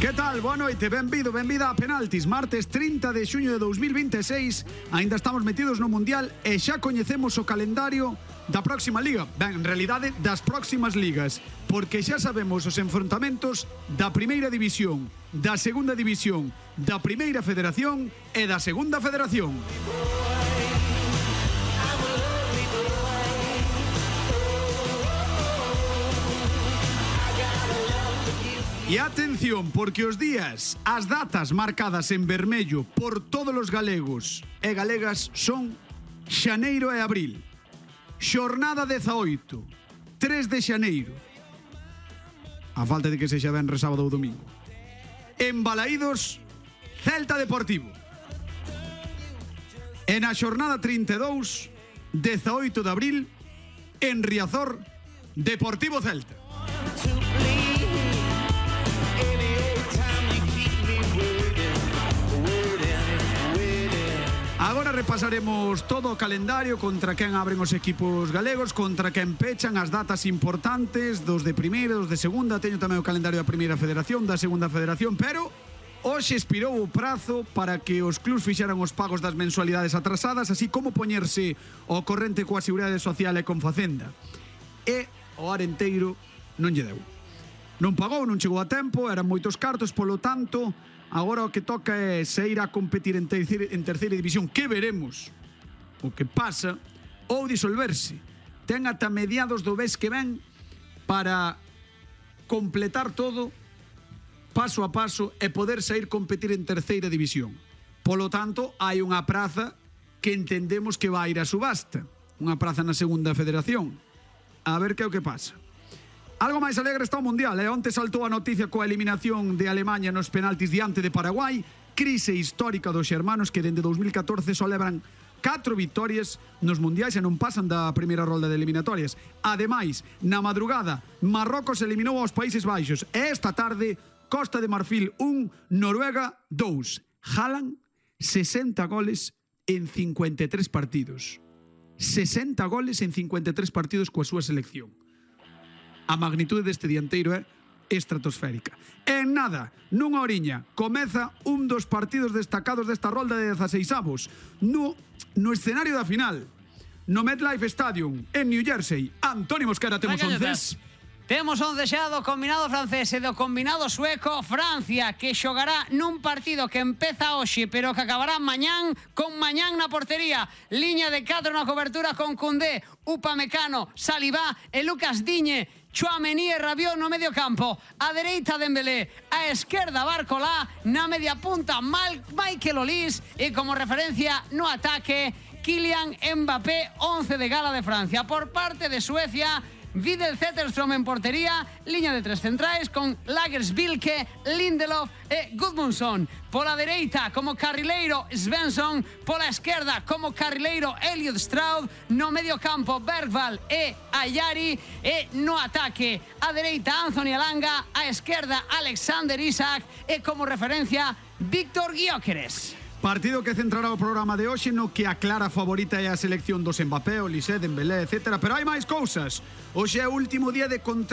Que tal? Boa noite, benvido, benvida a Penaltis. Martes 30 de xuño de 2026. Ainda estamos metidos no Mundial e xa coñecemos o calendario da próxima liga. Ben, en realidade, das próximas ligas. Porque xa sabemos os enfrontamentos da Primeira División, da Segunda División, da Primeira Federación e da Segunda Federación. E atención, porque os días, as datas marcadas en vermello por todos os galegos e galegas son xaneiro e abril. Xornada 18, 3 de xaneiro. A falta de que sexa venres, sábado ou domingo. En Balaídos, Celta Deportivo. E na xornada 32, 18 de abril, en Riazor, Deportivo Celta. Agora repasaremos todo o calendario, contra quen abren os equipos galegos, contra quen pechan, as datas importantes dos de primeira, dos de segunda. Teño tamén o calendario da Primeira Federación, da Segunda Federación, pero hoxe expirou o prazo para que os clubs fixeran os pagos das mensualidades atrasadas, así como poñerse ao corrente coa Seguridade Social e con Facenda. E o Arenteiro non lle deu. Non pagou, non chegou a tempo, eran moitos cartos, polo tanto, agora o que toca é sair a competir en terceira división, que veremos o que pasa, ou disolverse. Ten ata mediados do mes que ven para completar todo paso a paso e poder sair competir en terceira división. Polo tanto, hai unha praza que entendemos que vai ir a subasta, unha praza na Segunda Federación. A ver que é o que pasa. Algo máis alegre está o Mundial, onte saltou a noticia coa eliminación de Alemanha nos penaltis diante de Paraguai, crise histórica dos xermanos que dende 2014 só lebran 4 vitorias nos mundiais e non pasan da primeira rolda de eliminatorias. Ademais, na madrugada, Marrocos eliminou aos Países Baixos e esta tarde, Costa de Marfil 1, Noruega 2. Haaland, 60 goles en 53 partidos. 60 goles en 53 partidos coa súa selección. A magnitude deste dianteiro é estratosférica. En nada, nunha horiña, comeza un dos partidos destacados desta rolda de 16avos. No escenario da final, no MetLife Stadium, en New Jersey. Antoni Mosquera, temos 11. Temos 11 xa do combinado francés e do combinado sueco. Francia, que xogará nun partido que empeza hoxe, pero que acabará mañán, con Mañán na portería. Liña de 4 na cobertura con Koundé, Upamecano, Saliba e Lucas Digne. Tchouaméni e Rabiot no medio campo. A dereita Dembélé, a esquerda Barcolá, na media punta Michael Olise e como referencia no ataque Kylian Mbappé, 11 de gala de Francia. Por parte de Suecia, Vidal Zetterström en portería, liña de 3 centrais con Lagersbilke, Lindelof e Gudmundsson. Pola dereita como carrileiro Svensson, pola esquerda como carrileiro Elliot Stroud, no medio campo Bergvall e Ayari e no ataque a dereita Anthony Elanga, a esquerda Alexander Isak e como referencia Víctor Gyökeres. Partido que centrará o programa de hoxe no que a clara favorita é a selección dos Mbappé, Olise, Dembélé, etc. Pero hai máis cousas. Hoxe é o último día de contrato